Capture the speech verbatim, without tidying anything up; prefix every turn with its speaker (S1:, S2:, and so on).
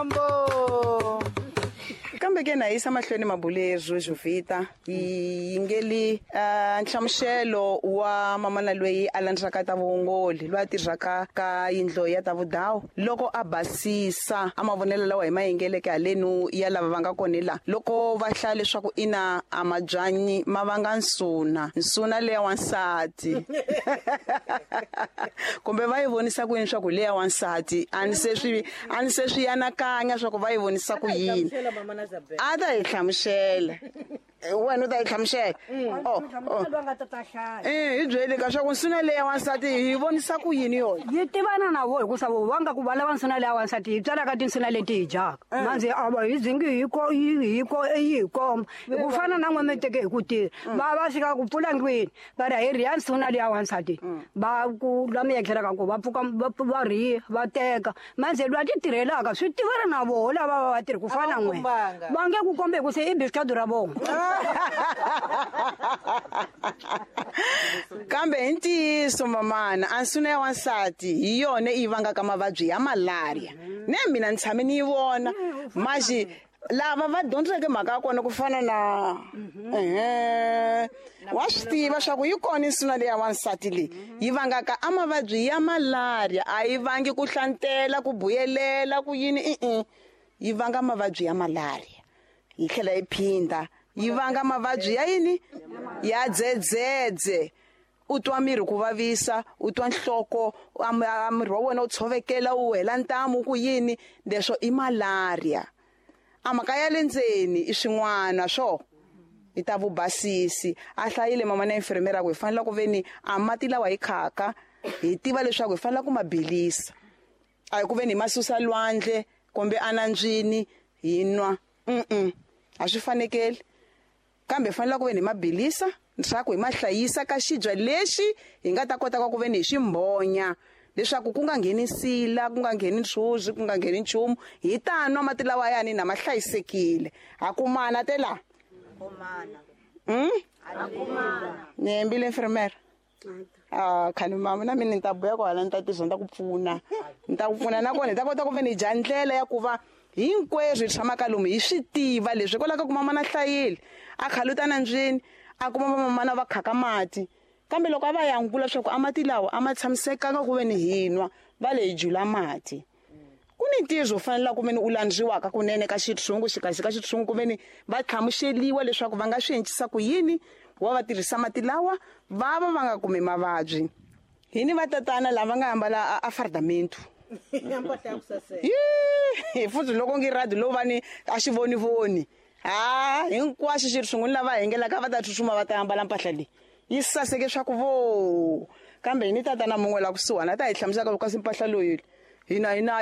S1: Mambo.
S2: Kambe ke na yisa mahlweni mabulezo Jovita yi ngeli nhlamuselo wa mamana loyi a landzaka ta vuongoli lwa tirhaka ka yindlo ya ta vudawu loko a basisa a mavonelo lawa hi mayengeleke halenu ya lava va nga kona la loko va hlaya leswaku ina a mabyanyi ma vanga nsuna nsuna leya wansati kumbe va yi vonisa ku yini swa ku leya wansati a ni se swi a ni se swi anakanya swa ku va yi vonisa ku yini a ta hi hlamusela wena u ta yi hlamusela oh eh hi byele ka swa ku nsuna leya wansati hi vonisa ku yini yona
S3: yi tivana na vo hikusa vo va nga ku va lava nsuna leya wansati hi tswalaka tinsuna leti hi dyaka manze a va hi zingi hi ko hi ko hi komba ku fana na n'we mi teke hi ku tirha va va fika ku pfula ndlwini va ri hi riya nsuna leya wansati va ku la mi endlelaka ku va pfuka va rhiya va teka manze lwa ti tirhelaka swi tivana na voho lava va va tirhi ku fana n'we va nge ku kombe ku se i biskadu ra vona.
S2: Kambe hi ntiyiso mamana a nsuna ya wansati hi yona yi vangaka mavabyi ya malaria ne mina ni tshame ni yi vona maxi lava va dyondzeke mhaka ya kona ku fana na ehe wa swi tiva swa ku yi kona nsuna leya wansati leyi yi vangaka a mavabyi ya malaria a yi vangi ku hlantela ku buyelela ku yini i-i yi vanga mavabyi ya malaria yi tlhela yi phinda yi vanga mavabyi ya yini ya dzedzedze u twa miri ku vavisa u twa nhloko a miri wa wena wu tshovekela wu hela ntamu ku yini leswo i malaria a mhaka ya le ndzeni i swin'wana swo i ta vubasisi a hlayile mama na infirmera ku hi fanele ku veni a mati lawa hi khaka hi tiva leswaku hi fanele ku ma bilisa a hi ku veni hi ma susa lwandle kumbe anandzwini hi nwa mm a swi fanekeli kambe fanele ku veni hi ma bilisa leswaku hi ma hlayisa ka xibya lexi hi nga ta kota ku veni hi ximbonya leswaku ku nga ngheni nsila ku nga ngheni ntshuzi ku nga ngheni nchumu hi ta nwa mati lawa yani na ma hlayisekile ha kumana te la mm ni hembile infirmera ah khani mama na mina ni ta buya kwala ni ta tirha ni ta ku pfuna ni ta ku pfuna nakona hi ta kota ku veni hi dya ndlela ya ku va hinkwerhu hi tshamaka lomu hi swi tiva leswi hikwalaho ka ku mama na hlayile a khaluta nandzwini a kuma vamamana va khaka mati kambe loko a va yangula leswaku a mati lawa a ma tshamisekanga ku veni hi nwa va le hi jula mati ku ni ntirho u fanelaka ku veni u landziwaka kunene ka xitshungu xikahle ka xitshungu ku veni va hlamuseliwa leswaku va nga swi encisa ku yini wa va tirhisa mati lawa va va va nga kumi mavabyi hi ni vatatana lava nga ambala a fardamento hi futhi loko ngi radi lowu va ni a xi vonivoni ha hinkwaswo xi ri swin'wana lava hengelaka va ta tsutsuma va ta ambala mpahla leyi yi saseke swa ku vo kambe hi ni tatana mun'we la kusuhana a ta hi hlamusela kasi mpahla loyi hina hi nayo.